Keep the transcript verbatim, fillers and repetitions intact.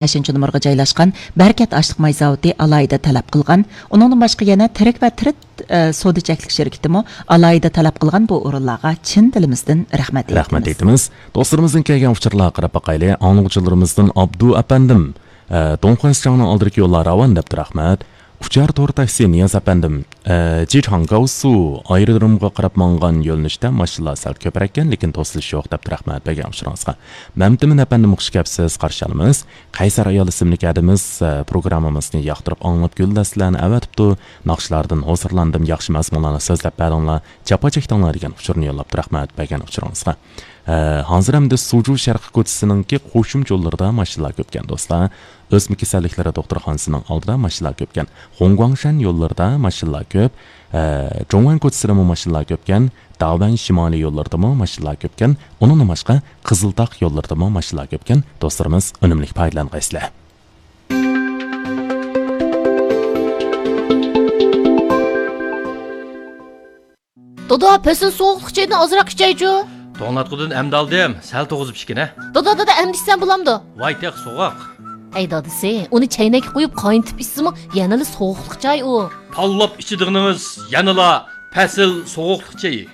بەشىنچى نومۇرغا جايلاشقان بەرىكەت ئاشلىق ماي زاۋۇتى ئالاھىدە تەلەپ قىلغان، ئۇنىڭدىن باشقا يەنە تىرىك ۋە تىرىت، ئە، سودا چەكلىك شىركىتىمۇ ئالاھىدە تەلەپ قىلغان بۇ ئورۇنلارغا چىن دىلىمىزدىن رەھمەت رەھمەت ئېيتىمىز. ئېيتىمىز. دوستلىرىمىزنىڭ كەلگەن ئۇچۇرلارغا قاراپ باقايلى. ئاڭلىغۇچىلىرىمىزدىن ئابدۇ ئەپەندىم، ئە، دۇڭخۇەنسىچاڭنىڭ ئالدىدىكى يوللار راۋان دەپتۇ، رەھمەت. ئۇچار تور تاكسى نىياز ئەپەندىم، ئە، جىچاڭگاۋسۇ ئايرودرومغا قاراپ ماڭغان يۆنىلىشتە ماشىنىلار سەل كۆپرەككەن، لېكىن توسۇلۇش يوق دەپتۇ، رەھمەت بەرگەن ئۇچۇرىڭىزغا. مەمتىمىن ئەپەندىم، خۇش كەپسىز، قارشى ئالىمىز. قەيسەر ئايال ئىسىملىك ھەدىمىز، ئە، پروگراممىمىزنى ياقتۇرۇپ ئاڭلاپ گۈلدەستىلەرنى ئەۋەتىپتۇ. ناخشىلاردىن ھۇزۇرلاندىم، ياخشى مەزمۇنلارنى سۆزلەپ بەردىڭلار، جاپا چەكتىڭلار دېگەن ئۇچۇرنى يوللاپتۇ، رەھمەت بەرگەن ئۇچۇرىڭىزغا. ئە، ھازىر ئەمدى سۇجۇ شەرقىي كوچىسىنىڭكى قوشۇمچە يوللىرىدا ماشىنىلار كۆپكەن، دوستلار. ئۆسمە كېسەللىكلىرى دوختۇرخانىسىنىڭ ئالدىدا ماشىنىلار كۆپكەن. خۇڭگۇاڭشەن يوللىرىدا ماشىنىلار كۆپ. ئە، جوڭۋەن كوچىسىدىمۇ ماشىنىلار كۆپكەن. داۋەن شىمالىي يوللىرىدىمۇ ماشىنىلار كۆپكەن. ئۇنىڭدىن باشقا، قىزىلتاغ يوللىرىدىمۇ ماشىنىلار كۆپكەن. دوستلىرىمىز، ئۈنۈملۈك پايدىلانغايسىلەر. دادا، پەسىل سوغۇقلۇق چايدىن ئازراق ئىچەيچۇ. توڭلاتقۇدىن ئەمدى ئالدىم، سەل توغۇزۇپ ئىچكىنە. دادا، دادا، ئەمدى ئىچسەم بولامدۇ؟ ۋاي، تېخى سوغۇق. ئەي دادىسى، ئۇنى چەينەككە قۇيۇپ قاينىتىپ ئىچسىمۇ يەنىلا سوغۇقلۇق چاي ئۇ. تاللاپ ئىچىدىغىنىڭىز يەنىلا پەسىل سوغۇقلۇق چېيى.